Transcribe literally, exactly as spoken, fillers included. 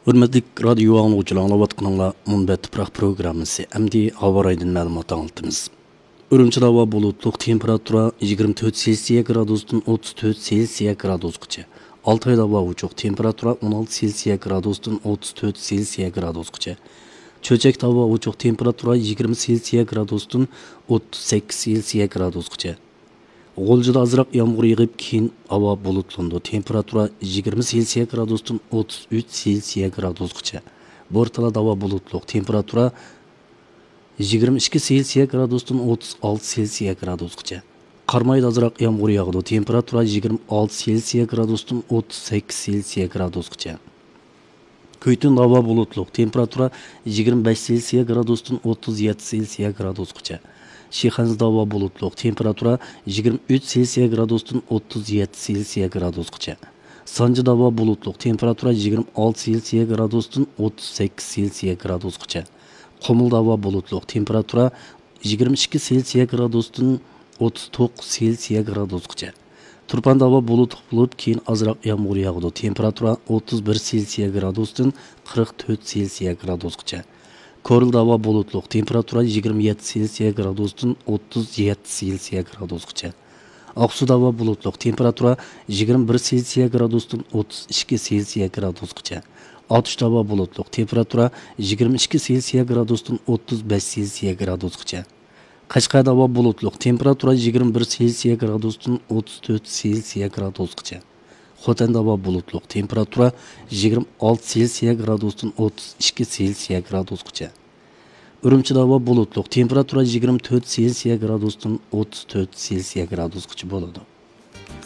ھۆرمەتلىك رادىيو ئاڭلىغۇچىلار، ئاڭلاۋاتقىنىڭلار مۇنبەت تۇپراق پروگراممىسى. ئەمدى ھاۋا رايىدىن مەلۇمات ئاڭلىتىمىز. ئۈرۈمچىدە ھاۋا بۇلۇتلۇق، تېمپېراتۇرا يىگىرمە تۆت سېلسىيە گرادۇستىن ئوتتۇز تۆت سېلسىيە گرادۇسقىچە. ئالتايدا ھاۋا ئوچۇق، تېمپېراتۇرا ئون ئالتە سېلسىيە گرادۇستىن ئوتتۇز تۆت سېلسىيە گرادۇسقىچە. چۆچەكتە ھاۋا ئوچۇق، تېمپېراتۇرا يىگىرمە سېلسىيە گرادۇستىن ئوتتۇز سەككىز سېلسىيە گرادۇسقىچە. غۇلجىدا ئازراق يامغۇر يېغىپ، كېيىن ھاۋا بۇلۇتلىنىدۇ. تېمپېراتۇرا يىگىرمە سېلسىيە گرادۇستىن ئوتتۇز ئۈچ سېلسىيە گرادۇسقىچە. بورتالادا ھاۋا بۇلۇتلۇق. تېمپېراتۇرا يىگىرمە ئىككى سېلسىيە گرادۇستىن ئوتتۇز ئالتە سېلسىيە گرادۇسقىچە. قارامايدا ئازراق يامغۇر ياغىدۇ. تېمپېراتۇرا يىگىرمە ئالتە سېلسىيە گرادۇستىن ئوتتۇز سەككىز سېلسىيە گرادۇسقىچە. كۈيتۈندە ھاۋا بۇلۇتلۇق. تېمپېراتۇرا يىگىرمە بەش سېلسىيە گرادۇستىن ئوتتۇز يەتتە سېلسىيە گرادۇسقىچە. شىخەنزىدە ھاۋا بۇلۇتلۇق. تېمپېراتۇرا يىگىرمە ئۈچ سېلسىيە گرادۇستىن ئوتتۇز يەتتە سېلسىيە گرادۇسقىچە. سانجىدا ھاۋا بۇلۇتلۇق. تېمپېراتۇرا يىگىرمە ئالتە سېلسىيە گرادۇستىن ئوتتۇز سەككىز سېلسىيە گرادۇسقىچە. قۇمۇلدا ھاۋا بۇلۇتلۇق. تېمپېراتۇرا يىگىرمە ئىككى سېلسىيە گرادۇستىن ئوتتۇز توققۇز سېلسىيە گرادۇسقىچە. تۇرپاندا ھاۋا بۇلۇتلۇق بولۇپ، كېيىن ئازراق يامغۇر ياغىدۇ. تېمپېراتۇرا ئوتتۇز بىر سېلسىيە گرادۇستىن قىرىق تۆت سېلسىيە گرادۇسقىچە. كورلىدا ھاۋا بۇلۇتلۇق. تېمپېراتۇرا يىگىرمە يەتتە سېلسىيە گرادۇستىن ئوتتۇز يەتتە سېلسىيە گرادۇسقىچە. ئاقسۇدا ھاۋا بۇلۇتلۇق. تېمپېراتۇرا يىگىرمە بىر سېلسىيە گرادۇستىن ئوتتۇز ئىككى سېلسىيە گرادۇسقىچە. ئاتۇشتا ھاۋا بۇلۇتلۇق. تېمپېراتۇرا يىگىرمە ئىككى سېلسىيە گرادۇستىن ئوتتۇز بەش سېلسىيە گرادۇسقىچە. قەشقەردە ھاۋا بۇلۇتلۇق. تېمپېراتۇرا يىگىرمە بىر سېلسىيە گرادۇستىن ئوتتۇز تۆت سېلسىيە گرادۇسقىچە. خوتەندە ھاۋا بۇلۇتلۇق. تېمپېراتۇرا يىگىرمە ئالتە سېلسىيە گرادۇستىن ئوتتۇز ئىككى سېلسىيە گرادۇسقىچە. ئۈرۈمچىدە ھاۋا بۇلۇتلۇق. تېمپېراتۇرا يىگىرمە تۆت سېلسىيە گرادۇستىن ئوتتۇز تۆت سېلسىيە گرادۇسقىچە بولىدۇ.